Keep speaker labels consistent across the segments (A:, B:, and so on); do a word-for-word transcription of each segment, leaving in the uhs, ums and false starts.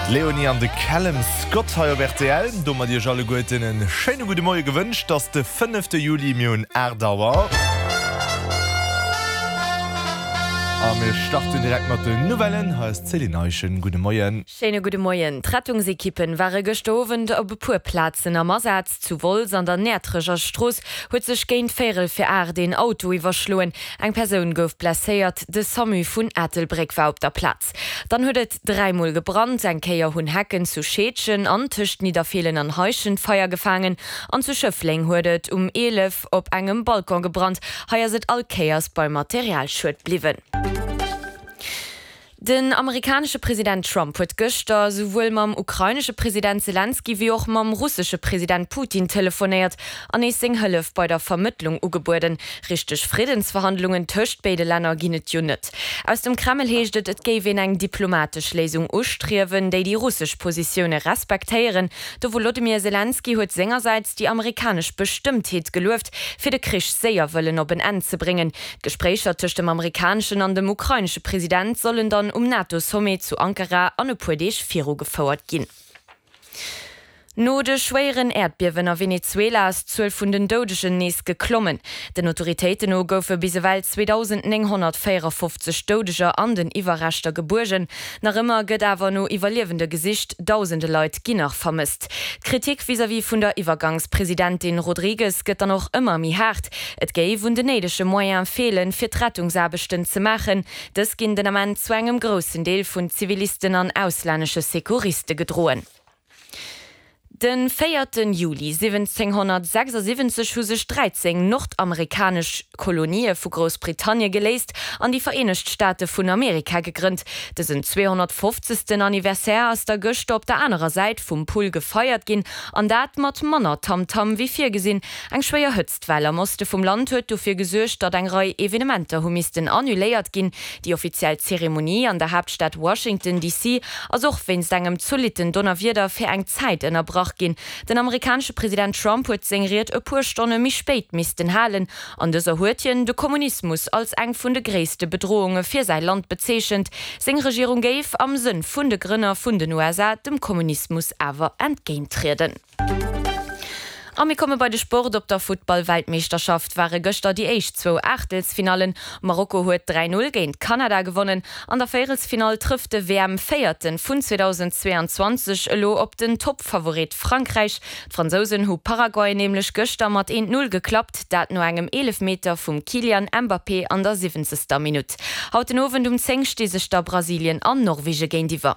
A: D'Leonie an de Callum Scott hei op rtl. Domat iech alleguerten en schéine gudde Moie gewënscht. Et ass de fënnefte Juli, mir hunn aacht Auer. A mir starten direkt mat den Nouvellen. Hei ass d'Céline Eischen. Gudde Moien.
B: Schéine gudde Moien. D'Rettungsekippen ware gëschter Owend op e puer Plazen am Asaz. Zu Wolz an der Näertrecher Strooss huet sech géint véierel fir aacht een Auto iwwerschloen. Eng Persoun gouf blesséiert. De Samu vun Ettelbréck war op der Plaz. Dann huet et dräi Mol gebrannt. Eng Kéier hunn Hecken zu Scheedgen an tëscht Nidderfeelen an Heischent Feier gefaangen. An zu Schëffleng huet et um eelef op engem Balcon gebrannt. Hei ass et all Kéiers beim Materialschued bliwwen. Den amerikanesche President Trump huet gëschter souwuel mam ukrainesche President Selenskyj wéi och mam russesche President Putin telefonéiert an nees seng Hëllef bei der Vermëttlung ugebueden. Richteg Friddensverhandlungen tëscht béide Länner ginn et jo net. Aus dem Kreml heescht et, et géif een eng diplomatesch Léisung ustriewen, déi déi russesch Positioune respektéieren. De Wolodymyr Selenskyj huet sengersäits déi amerikanesch Bestëmmtheet gelueft, fir de Krich séier wëllen op en Enn ze bréngen. D'Gespréicher tëscht dem amerikaneschen an dem ukrainesche President sollen dann um NATO-Sommet zu Ankara an e puer Deeg virugefouert ginn. No de schwéieren Äerdbiewen a Venezuela ass d'Zuel vun den Doudegen nees geklommen. Den Autoritéiten no goufe bis ewell zweedausend nénghonnertvéierafofzeg Doudeger an den Iwwerreschter gebuergen. Nach ëmmer gëtt awer no Iwwerliewende gesicht, dausende Leit ginn nach vermësst. D'Kritik vis-à-vis vun der Iwwergangspresidentin Rodriguez gëtt dann och ëmmer méi haart. Et géif un den néidege Moyene feelen, fir d'Rettungsaarbechten ze maachen. Dës ginn den Ament zu engem groussen Deel vun Zivilisten an auslännesche Secouriste gedroen. De véierten Juli siwwenzénghonnertsechsasiwwenzeg hu sech dräizéng nordamerikanesch Kolonië vu Groussbritannie geléist an déi Vereenegt Staate vun Amerika gegrënnt. Dësen zweehonnertfofzegsten Anniversaire ass da gëschter op der anerer Säit vum Pull gefeiert ginn, an dat mat manner Tamtam wéi virgesinn. Eng schwéier Hëtztwell am Oste vum Land huet dofir gesuergt, datt eng Rei Evenementer hu missten annuléiert ginn. Déi offiziell Zeremonie an der Haaptstad Washington D C ass och wéinst engem zolitten Donnerwieder fir eng Zäit ënnerbrach ginn. Den amerikanesche President Trump huet seng Ried e puer Stonne méi spéit missten halen. An dëser huet hien de Kommunismus als eng vun de gréisste Bedrohunge fir säi Land bezeechent. Seng Regierung géif am Sënn vun de Grënner vun den U S A dem Kommunismus awer entgéinttrieden. A mir komme bei de Sport. Op der Futtball-Weltmeeschterschaft ware gëschter déi éischt zwou Aachtelsfinallen. Marokko huet dräi Null géint Kanada gewonnen. An der Véierelsfinall trëfft de W M-Véierte vun zweedausendzweeanzwanzeg elo op den Toppfavorit Frankräich. D'Fransousen hu Paraguay nämlech gëschter mat eent Null geklappt, dat no engem Eelefmeter vum Kylian Mbappé an der siwwenzegster Minutt. Haut den Owend um zéng sti sech da Brasilien an Norwege géintiwwer.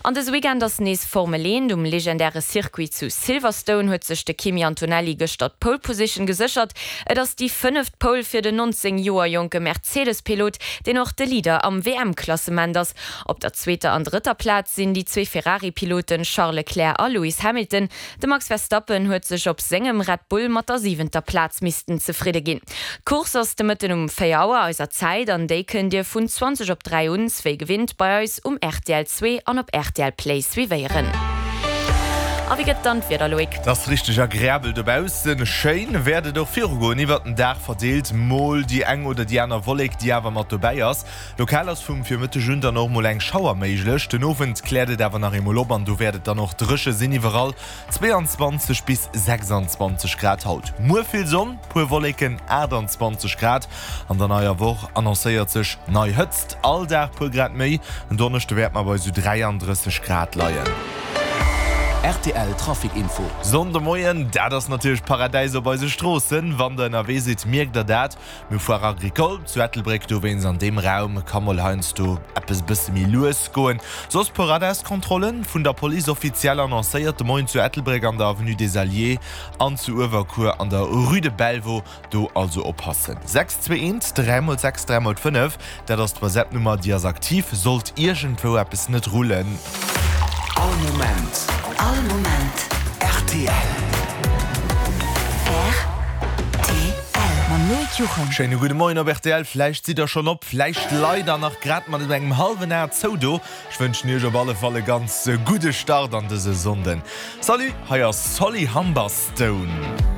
B: An dëse Weekend ass nees Formel eent. Um legendäre Circuit zu Silverstone huet sech de Kimi Antonelli gëschter d'Pole Position geséchert. Et ass déi fënneft Pole fir den nonzéng Joer jonke Mercedes-Pilot, deen och de Leader am W M-Klassement ass. Op der zweeter an drëtter Plaz sinn déi zwee Ferrari-Piloten Charles Leclerc a Lewis Hamilton. De Max Verstappen huet sech op sengem Red Bull mat der siwenter Plaz missten zefridde ginn. D'Course ass de Mëtten um véier Auer eiser Zäit an déi kënnt Dir vun zwanzeg op dräi un wéi gewinnt bei eis um R T L zwee an op R T L Play suivéieren. A wéi gëtt dann d'Wieder, Loïc?
A: Et ass richteg agreabel dobaussen. Schéin wäert et och virugoen, iwwert den Dag verdeelt mol déi eng oder déi aner Wollek, déi awer mat dobäi ass. Lokal ass vum Virmëtteg un dann och mol eng Schauer méiglech. Den Owend kläert et awer nach eemol op an do wäert et dann och dréche sinn iwwerall, zweeanzwanzeg bis sechsanzwanzeg Grad haut. Muer vill Sonn, puer Wolleken, aachtanzwanzeg Grad. An der neier Woch annoncéiert sech nei Hëtzt, all Dag puer Grad méi. En Donneschde wäerte mer bei sou dräiandrësseg Grad leien.
C: R T L Trafic Info.
A: Sonndemoien, dat ass natierlech Paradäis op eise Stroossen. Wann der ënnerwee sidd, mierkt der dat. Mir hu Foire Agricole zu Ettelbréck, dowéinst an deem Raum ka mol heiansdo eppes e bësse méi lues goen. Soss puer Radarskontrollen, vun der Police offiziell annoncéiert de Moien zu Ettelbréck an der Avenue des Alliés an zu Uewerkuer an der Rue de Belvaux. Do also oppassen. Sechs zwee eent dräi mol sechs dräi mol fënnef, dat ass d'WhatsApp-Nummer, déi ass aktiv, sollt iergendwou eppes net rullen.
C: All Moment.
D: All Moment.
C: R T L.
D: R T L. Mam Loïc Juchem.
A: Schéine gudde Moien op R T L. Vläicht sidd der schonn op, vläicht leit der nach grad mat engem hallwen A zou do. Ech wënschen iech op alle Fall e ganz gudde Start an dëse Sonnden. Salut, hei ass Solly Humberstone.